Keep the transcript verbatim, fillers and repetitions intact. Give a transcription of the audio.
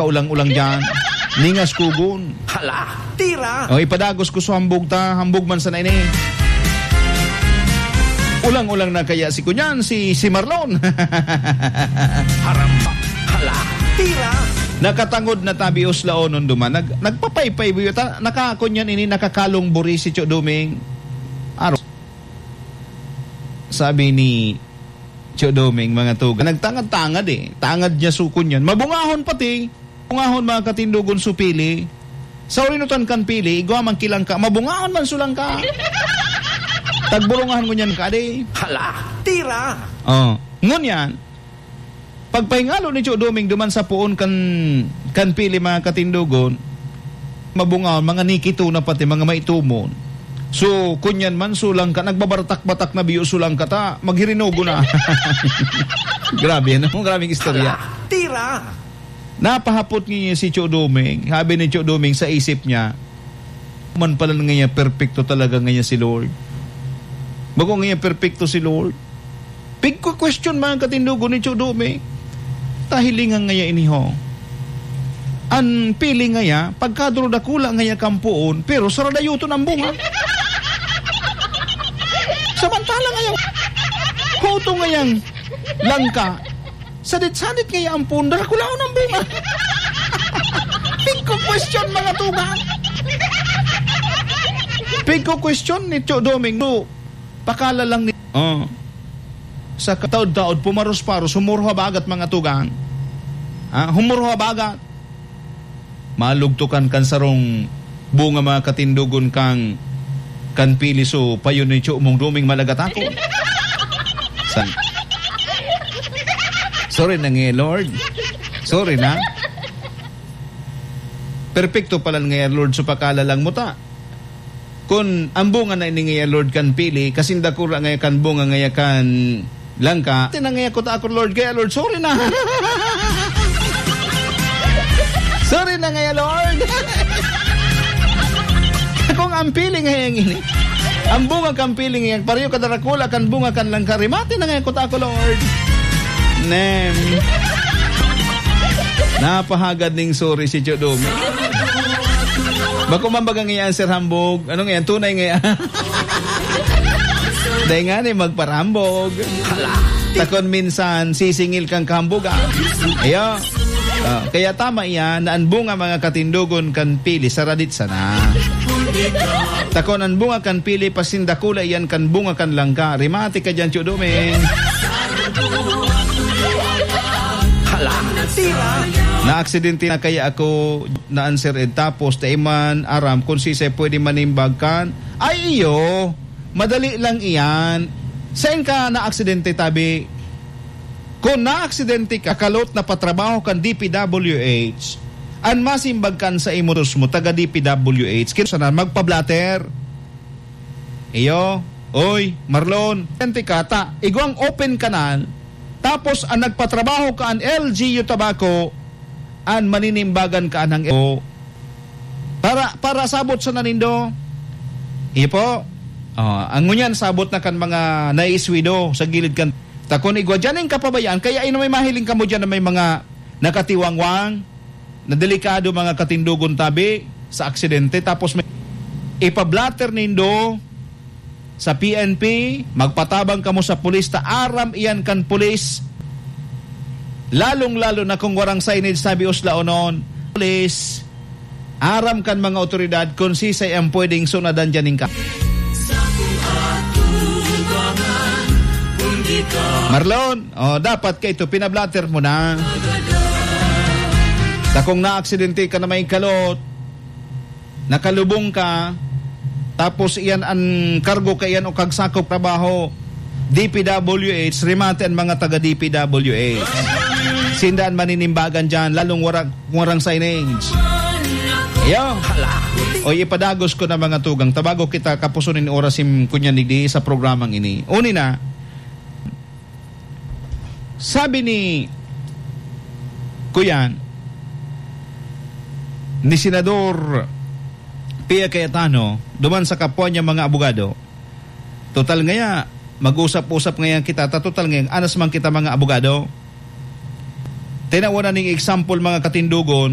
Ulang-ulang diyan. Ningas kugon. Hala, tira! O, ipadagos ko sa hambog ta. Hambog man sana ini. Ulang-ulang na kaya si kunyan, si, si Marlon. Haramba. Hala, tira! Nakatangod na tabi os laonon duman. Nag-, nagpapaypay buyo ta. Nakakunyan ini, nakakalong buri si Cho Doming. Aro. Sabi ni Cho Doming, mga tugang, nagtangad-tangad eh. Tangad niya sukon yan. Mabungahon pati. Mabungahon, mga katindogon, su pili. Sa urinutan kan pili, igwa man ki langka. Mabungahon man su langka. Tagburungahan ngunyan ka, di. Hala, tira! Oh, ngunyan, pagpahingalo ni Cho Doming duman sa poon kan, kan pili, mga katindogon, mabungaon, mga nikito na pati, mga maitumon. So, kunyan man, su langka, nagbabartak-batak na biyo su langka ta, maghirinogo na. Grabe, ano? Grabeng istorya. Hala, tira! Napahapot niya si Cho Doming. Sabi ni Cho Doming sa isip niya, "Man pala ngayon, perpekto talaga ngayon si Lord. Bako ngayon, perpekto si Lord." Pigko-question, mga katindogon, ni Cho Doming. Tahilingan ngaya ini, ho. An pili ngaya, pagkaduro dakula ngaya kan poon, pero saradayoton ang bunga. Samantala ngaya, hoto ngayang langka, sadit-sadit ngaya ang poon, darakulaon ang bunga. Pigko-question, mga tugang. Pigko-question ni Cho Doming, no? Pakala lang ni, oh. Sa kataod-taod, pumaros-paros, humurhabagat, mga tugang. Ha? Humurhabagat. Malugtukan kan sarong bunga, mga katindogon, kan, kan pili su payo ni Cho Doming, malagat ako. Sa-, sorry na nga, Lord. Sorry na. Perpekto pala nga, Lord, su pakala lang mo ta. Kun ang bunga na ini ngaya, Lord, kan pili, kasing dakula ngaya kan bunga ngaya kan langka, tina ngaya ko ta ako, Lord, kaya, Lord, sorry na. Sorry na ngaya, Lord. Kung ang pili ngaya ini, ang bunga kan pili ngaya, pareho kadarakula kan bunga kan langka, rimate na ngaya ko ta ako, Lord. Nem. Napahagad ning sorry si Cho Doming. Bako man baga nga answer hambog. Ano nga yan? Tunay nga yan. Dahil nga ni magparambog. Takon minsan, sisingil kang kahambogan. Ayo. Ah, kaya tama iyan na ang bunga, mga katindogon, kan pili sa radit sana. Takon ang bunga kan pili, pasindakula iyan kan bunga kan langka. Rimati ka dyan, Cho Doming. Hala, tira! Naaksidente na kaya ako na answer ed tapos dai man aram kun siisay pwede manimbag kan, ay iyo, madali lang iyan. Saen ka naaksidente, tabi? Kun naaksidente ka, kalot na patrabaho kan D P W H, an masimbag kan sa imo, Diyos mo, taga D P W H, kaya sana magpa-blotter. Iyo, oy, Marlon, ente ka ta, igwang open kanal, tapos an nagpatrabaho ka an L G U Tabaco, an maninimbagan ka anang o. Para, para sabot sana nindo. Iyo po. Oh, ang ngunyan sabot na kan mga naiswido sa gilid kan takon igwa diyan ning kapabayaan, kaya ino may mahiling kamo diyan na may mga nakatiwangwang, na delikado, mga katindogon, tabi sa aksidente, tapos may ipablatter nindo sa P N P, magpatabang kamo sa pulis, ta aram iyan kan pulis. Lalong-lalo na kung warang signage, tabi uslaonon. Pulis, aram kan mga otoridad kung sisay ang pwedeng sunadan diyan ning ka-, Marlon, oh, dapat ka ito, pinablatter mo na. Ta kung naaksidente ka na may kalot, nakalubong ka, tapos iyan an kargo ka iyan o kagsakop trabaho, D P W H, rimate an mga taga D P W H. Sinda an maninimbagan diyan, lalong wara, warang signage. Iyo. O, ipadagos ko na, mga tugang, tabago kita kapuso nin oras sim kunyan digdi sa programang ini. Uni na, sabi ni, kuyan, ni Senador Pia Cayetano, duman sa kapwa niya mga abogado, total ngaya, mag-usap-usap ngaya kita, ta total ngaya, anas man kita mga abogado. Tinawan na ning example, mga katindogon,